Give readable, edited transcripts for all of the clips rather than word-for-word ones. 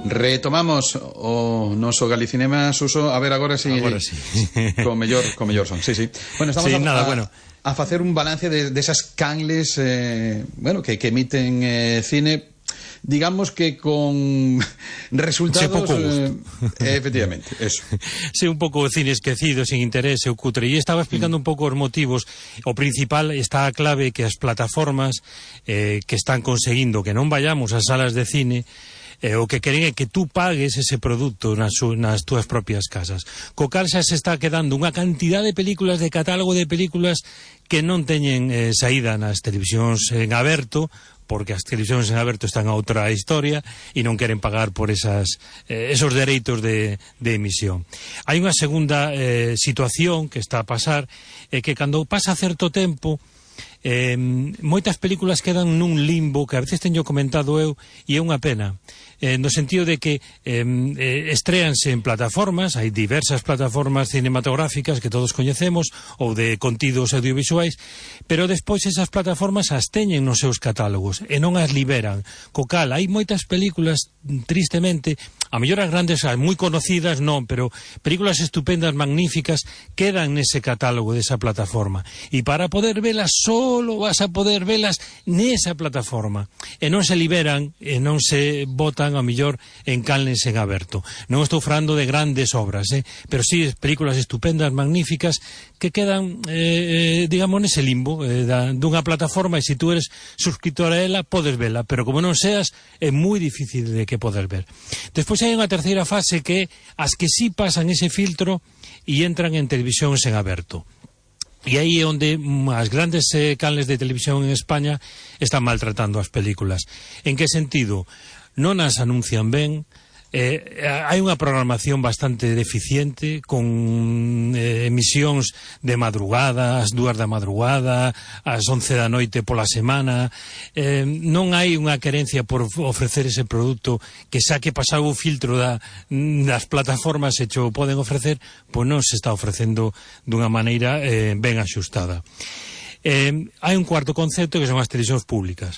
Retomamos o noso Galicinema, Suso, a ver agora si con mellor son. Sí. Bueno, estamos a facer un balance de esas canles que emiten cine, digamos que con resultados pouco gusto. Efectivamente, eso. Sí, un pouco cine esquecido, sin interese, o cutre. E estaba explicando un pouco os motivos. O principal está a clave que as plataformas que están conseguindo que non vayamos ás salas de cine, o que queren é que tú pagues ese produto nas túas propias casas. Co cal xa se está quedando unha cantidad de películas, de catálogo de películas que non teñen saída nas televisións en aberto, porque as televisións en aberto están a outra historia e non queren pagar por esos dereitos de emisión. Hai unha segunda situación que está a pasar, é que cando pasa certo tempo, moitas películas quedan nun limbo que a veces teño comentado eu, e é unha pena, no sentido de que estréanse en plataformas, hai diversas plataformas cinematográficas que todos coñecemos, ou de contidos audiovisuais, pero despois esas plataformas as teñen nos seus catálogos e non as liberan, co cal hai moitas películas, tristemente, a mellor as grandes, as moi conocidas non, pero películas estupendas, magníficas, quedan nese catálogo desa plataforma, e para poder velas solo vas a poder velas nesa plataforma, e non se liberan e non se botan a mellor en canles en aberto. Non estou falando de grandes obras, pero sí películas estupendas, magníficas, que quedan, digamos, nese limbo dunha plataforma, e se tú eres suscriptor a ela, podes vela, pero como non seas, é moi difícil de que poder ver. Despois hai unha terceira fase que as que sí pasan ese filtro e entran en televisións en aberto. E aí é onde as grandes canles de televisión en España están maltratando as películas. En que sentido? Non as anuncian ben, hai unha programación bastante deficiente, con emisións de madrugada, ás 2 da madrugada, ás 11 da noite pola semana. Non hai unha querencia por ofrecer ese produto que xa que pasado o filtro das plataformas e xo poden ofrecer, pois non se está ofrecendo dunha maneira ben axustada. Hai un cuarto concepto que son as televisións públicas.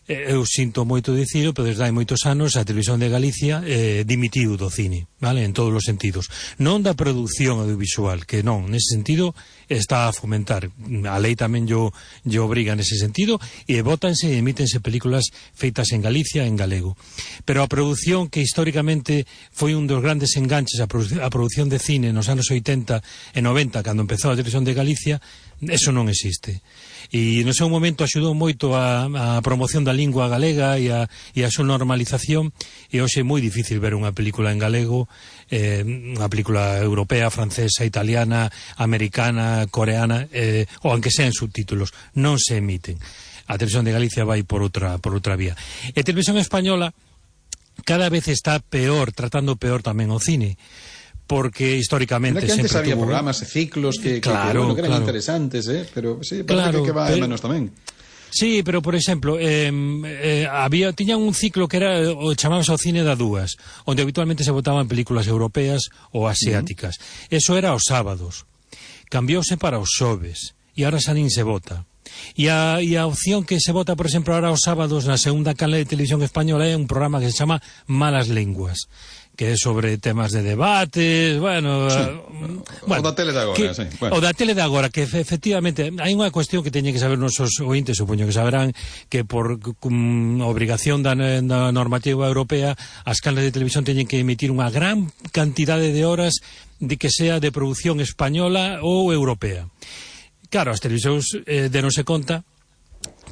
Eu sinto moito dicilo, pero desde hai moitos anos a Televisión de Galicia dimitiu do cine, vale, en todos os sentidos. Non da produción audiovisual, que non, nese sentido está a fomentar. A lei tamén yo obriga nese sentido, e bótanse e emítense películas feitas en Galicia, en galego. Pero a produción, que históricamente foi un dos grandes enganches a produción de cine nos anos 80 e 90, cando empezou a Televisión de Galicia, eso non existe. E no seu momento axudou moito a promoción da lingua galega e a súa normalización, e hoxe é moi difícil ver unha película en galego, unha película europea, francesa, italiana, americana, coreana, ou aunque sean subtítulos, non se emiten. A Televisión de Galicia vai por outra vía. E a Televisión Española cada vez está peor, tratando peor tamén o cine, porque históricamente que antes sempre había programas e ciclos que eran interesantes, pero sí, parece que va menos tamén. Sí, pero por exemplo, tiñan un ciclo que era o chamábase o cine da dúas, onde habitualmente se botaban películas europeas ou asiáticas. Eso era os sábados. Cambiouse para os xoves, e ahora xa nin se vota. E a opción que se vota, por exemplo, ahora os sábados na segunda canle de televisión española é un programa que se chama Malas Lenguas, que é sobre temas de debates, o da tele de agora, sí. O da tele de agora, que efectivamente hai unha cuestión que teñen que saber nosos ointes, supoño que saberán, que por obrigación da normativa europea, as canles de televisión teñen que emitir unha gran cantidade de horas de que sea de produción española ou europea. Claro, as televisións denose conta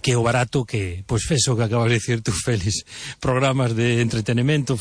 que o barato que, pois, fes o que acabas de dicir tú, Félix, programas de entretenimento